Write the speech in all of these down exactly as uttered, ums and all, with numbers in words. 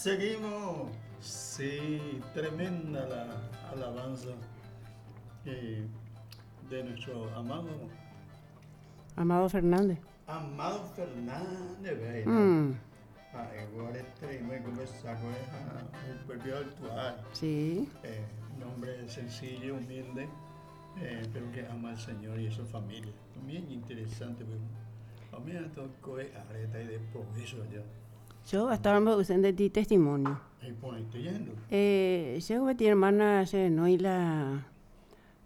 Seguimos. Sí, tremenda la alabanza eh, de nuestro amado Amado Fernández. Amado Fernández, ve. Mm, Ah, igual este, me conversar con un propio actual. sí. Eh, un hombre sencillo, humilde, eh, pero que ama al Señor y a su familia. Bien interesante, pero a mí me tocó areta y de progreso allá. Yo estaba usando de ti testimonio. Ahí pone, estoy yendo. Eh, yo mi hermana se no y la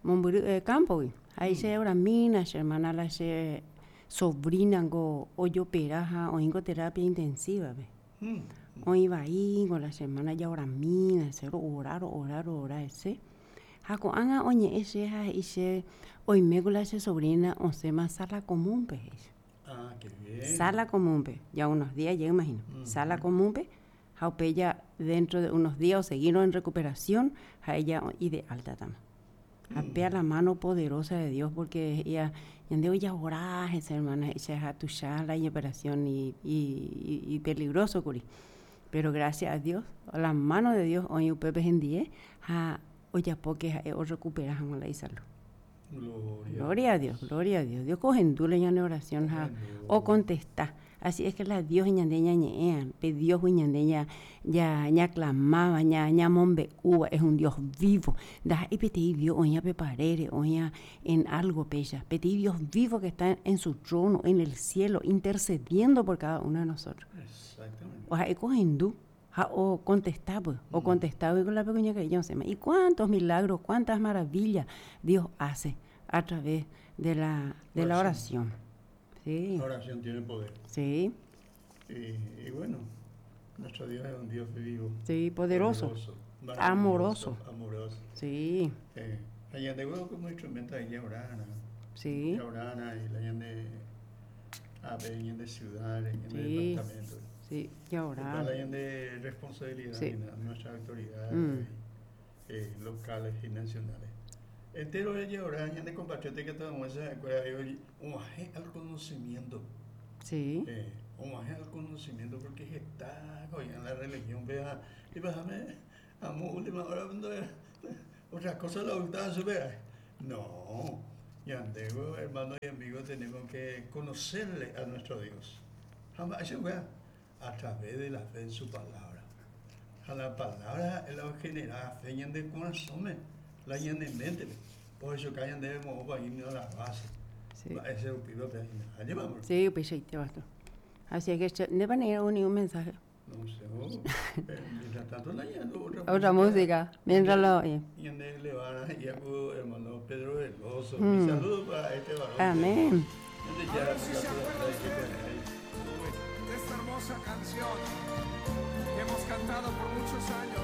mombyry eh, campo gui. Ahí se ahora mina, se hermana la se sobrina go ojopera ha oingo terapia intensiva ve. Mm. Oĩ vai con la semana ya ahora mina, se orar, orar, orar ese. Ha ko'ág̃a oñe'ẽ che ha he'i che oime con la che sobrina osẽma sala común pe he'i. Ah, qué bien. Sala común pe, ya unos días, yo imagino. Mm. Sala común pe, ha upe ya dentro de unos días o seguirnos en recuperación, ha ella y de alta tama. Ha la mano poderosa de Dios porque ella ñande ya orar esa hermana, ella ha tuya la operación y, y, y, y peligroso kuri. Pero gracias a Dios, a la mano de Dios, hoy upepe hendie, ha ojapo que o recupera la salud. Gloria. Gloria a Dios, gloria a Dios. Dios cogendule ñane oración ha o contesta. Así es que la Dios ñande ñañe'ẽa, pe Dios ñande ña ya ña clamaba, ña ña mombe'úva, es un Dios vivo. Da y peteĩ Dios oña pe parére, oña en algo pella. Peteĩ Dios vivo que está en su trono, en el cielo, intercediendo por cada uno de nosotros. Exactamente. O sea, cogendú, ha o contestaba, pues, o contestaba y con la pequeña que yo se me. Y cuántos milagros, cuántas maravillas Dios hace a través de la, de la oración. Sí, La oración tiene poder. sí, Y, y bueno, nuestro Dios es un Dios vivo. sí, poderoso. maravilloso, Amoroso. Amoroso. Sí, Eh, allá de huevo como instrumento de orana. sí, Orana y la de a ver, de ciudad, de Sí. departamento. sí, y ahora. La de responsabilidad Sí. de nuestras autoridades Mm. eh, locales y nacionales. Entero ella orana de compatriotas que estamos se acuerda un al conocimiento. Sí, Eh, homenaje al conocimiento porque está en la religión vea y bájame a última hora cuando era- otra cosa la gustaba vea no y andego hermano y amigo tenemos que conocerle a nuestro Dios jamás eso vea a través de la fe en su palabra a la palabra es la que genera fe en el corazón la en mente por eso que hayan debemos ir a la base sí. ese pido allí vamos Sí, pues sí, te bastó. Así es que no van a ir ni un mensaje. No sé, oh, eh, mientras tanto, la yendo otra, Otra música, mientras lo oye. Y en el le van a y a hermano Pedro Veloso. Mm. Mi saludo para este varón. Amén. Desde A ya, ver si se la- la- acuerda la- usted de esta hermosa canción que hemos cantado por muchos años.